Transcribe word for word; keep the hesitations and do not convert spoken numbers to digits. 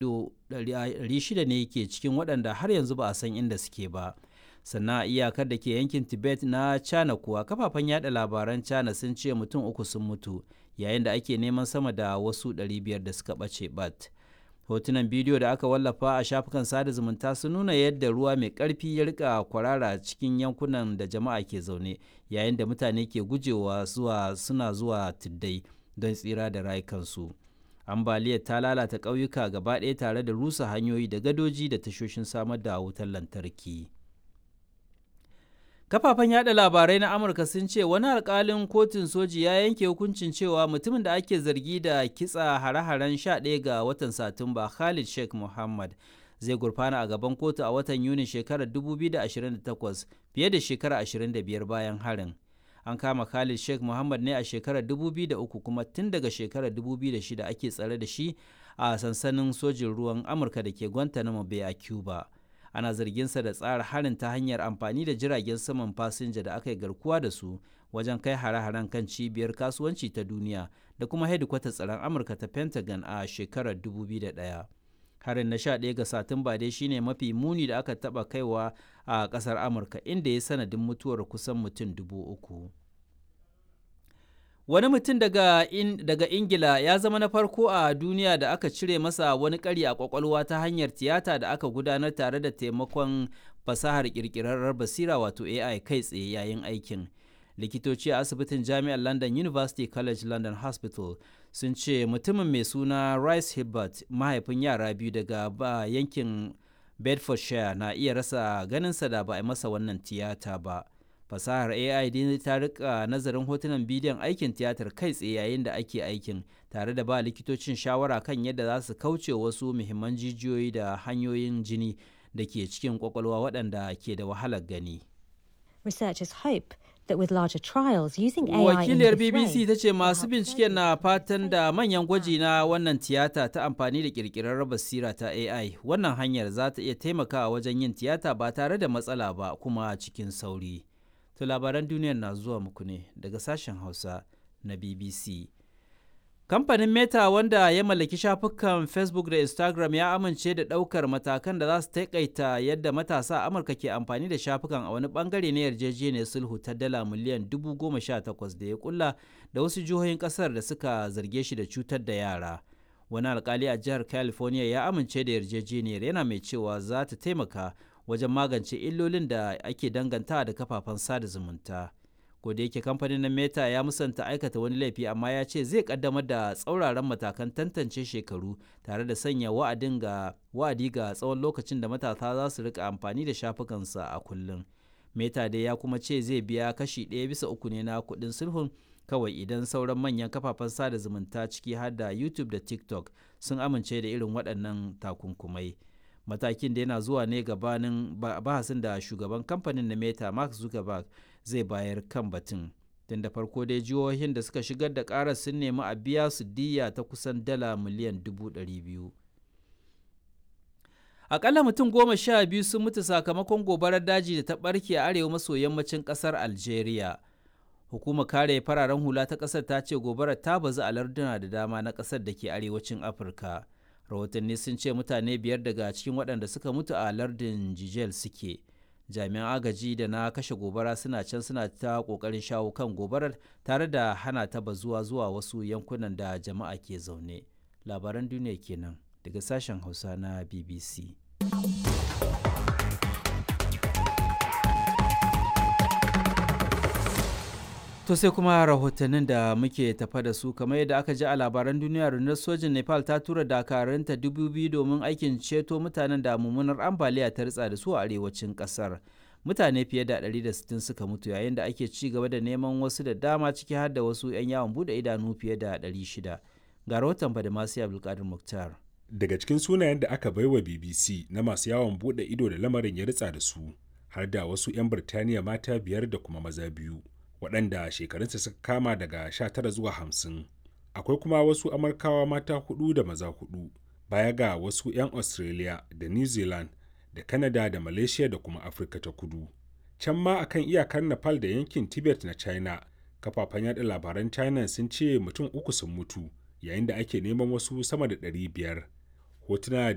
ɗari shida ne ke cikin waɗanda har yanzu ba a san inda suke ba. Sannan a iyakar da ke yankin Tibet na China kuwa, kafafen yada labaran China sun ce mutum uku sun mutu yayin da ake neman sama da wasu ɗari biyar da suka ɓace bat. Hotunan bidiyo da aka wallafa a shafukan sada zumunta sun nuna yadda ruwa mai ƙarfi ya rika kwarara cikin yankunan da jama'a ke zaune, yayin da mutane ke gujewa zuwa suna zuwa tuddai don tsira da rayukansu. Ambaliyar ta lalata ƙauyuka gaba ɗaya tare da rusa hanyoyi da gadoji da tashoshin samar da wutar lantarki. Kafafen yada labarai na Amurka sun ce wani alkalin kotun soji ya yanke hukuncin cewa mutumin da ake zargi da kitsa hare-haren sha ɗaya ga watan Satumba, Khalid Sheikh Mohammed, zai gurfana a gaban kotu a watan Yuni shekarar dubu biyu da ashirin da takwas, fiye da shekara ashirin da biyar bayan harin. An kama Khalid Sheikh Mohammed ne a shekarar dubu biyu da uku, kuma tun daga shekarar dubu biyu da shida ake tsare da shi a sansanin sojin ruwan Amurka da ke Guantanamo Bay a Cuba. Ana zarginsa da tsara harin ta hanyar amfani da jiragen saman fasinja da aka yi garkuwa da su wajen kai hare-haren kan cibiyar kasuwanci ta duniya da kuma hedikwatar tsaron Amurka ta Pentagon a shekarar dubu biyu da ɗaya. Harin na sha ɗaya ga Satumba dai shine mafi muni da aka taba kaiwa a kasar Amurka, inda ya sanadin mutuwar kusan mutum dubu uku. Wani mutum daga, in, daga Ingila ya zama na farko a duniya da aka cire masa wani ƙari a kwakwalwa ta hanyar tiyata da aka gudanar tare da taimakon fasahar ƙirƙirarrar basira wato A I kai tsaye yayin aikin. Likitoci a asibitin Jami'ar London University College London Hospital sun ce mutumin mai suna Rice Hibbert, mahaifin yara biyu daga ba yankin Bedfordshire, na iya rasa ganinsa da ba a masa wannan tiyata ba. Fasahar A I dai ta rika nazarin hotunan bidiyon aikin tiyatar kai tsaye yayin da ake aikin, tare da ba likitocin shawara kan yadda za su kauce wasu muhimman jijiyoyi da hanyoyin jini da ke cikin kwakwalwa waɗanda ke da wahalar gani. Researchers hope that with larger trials using A I Wakiliyar in this B B C way, ta ce masu binciken na fatan da manyan gwaji na wannan tiyata ta amfani da kirkirar basira ta A I, wannan hanyar za ta iya taimakawa wajen yin tiyata ba tare da matsala ba kuma cikin sauri. To, labaran duniyar na zuwa muku ne daga sashen Hausa na B B C. Kamfanin Meta, wanda ya mallaki shafukan Facebook da Instagram, ya amince da ɗaukar matakan da za su taƙaita yadda matasa a Amurka ke amfani da shafukan a wani ɓangare na yarjejeniyar sulhu ta dala miliyan dubu goma sha takwas da ya kulla da wasu jihohin ƙasar da suka zarge shi da cutar da yara. Wani alkali a jihar California ya amince da yarjejeniyar, yana mai cewa za ta taimaka wajen magance illolin da ake danganta da kafafen sada zumunta. Da yake kamfanin na Meta ya musanta aikata wani laifi, amma ya ce zai kaddamar da tsauraran matakan tantance shekaru tare da sanya wa'adin ga wa'adi ga tsawon lokacin da matasa za su rika amfani da shafukansa a kullum. Meta dai ya kuma ce zai biya kashi ɗaya bisa uku ne na kuɗin sulhun kawai idan sauran manyan kafafen sada zumunta, ciki har da YouTube da TikTok, sun amince da irin waɗannan takunkumai. Matakin da yana zuwa ne gabanin bahasin da shugaban kamfanin na Meta, Mark Zuckerberg, zai bayar kan batun. Tun da farko dai jihohin da suka shigar da karar sun nemi a biya su diyya ta kusan dala miliyan dubu ɗari biyu. Akalla mutum goma sha biyu sun mutu sakamakon gobarar daji da ta barke a arewa maso yammacin kasar Algeria. Hukumar kare fararen hula ta kasar ta ce gobarar ta bazu a larduna da dama na kasar da ke arewacin Afirka. Rahotanni sun ce mutane biyar daga cikin waɗanda suka mutu a lardin Jijel suke. Jami'an agaji da na kashe gobara suna can suna ta ƙoƙarin shawo kan gobarar tare da hana ta bazuwa zuwa wasu yankunan da jama'a ke zaune. Labaran duniya kenan daga sashen Hausa na B B C. To, sai kuma rahotannin da muke tafa da su. Kamar yadda aka ji a labaran duniya, rundunar sojin Nepal ta tura dakarunta dubu biyu domin aikin ceto mutanen da mummunar ambaliya ta ritsa da su a arewacin kasar. Mutane fiye da ɗari da sittin suka mutu yayin da ake ci gaba da neman wasu da dama, ciki har da wasu 'yan yawon bude idanu fiye da ɗari shida. Ga rahoton Badamasi Abdulkadir Muktar. Daga cikin sunayen da aka baiwa B B C na masu yawon bude ido da lamarin ya ritsa da su, har da wasu 'yan Birtaniya mata biyar da kuma maza biyu, waɗanda shekarunsa suka kama daga sha tara zuwa hamsin. Akwai kuma wasu Amurkawa mata hudu da maza hudu, baya ga wasu 'yan Australia da New Zealand da Canada da Malaysia da kuma Afirka ta Kudu. Can ma akan iyakar Nepal da yankin Tibet na China, kafafen yada labaran China sun ce mutum uku sun mutu yayin da ake neman wasu sama da ɗari biyar. Hotuna da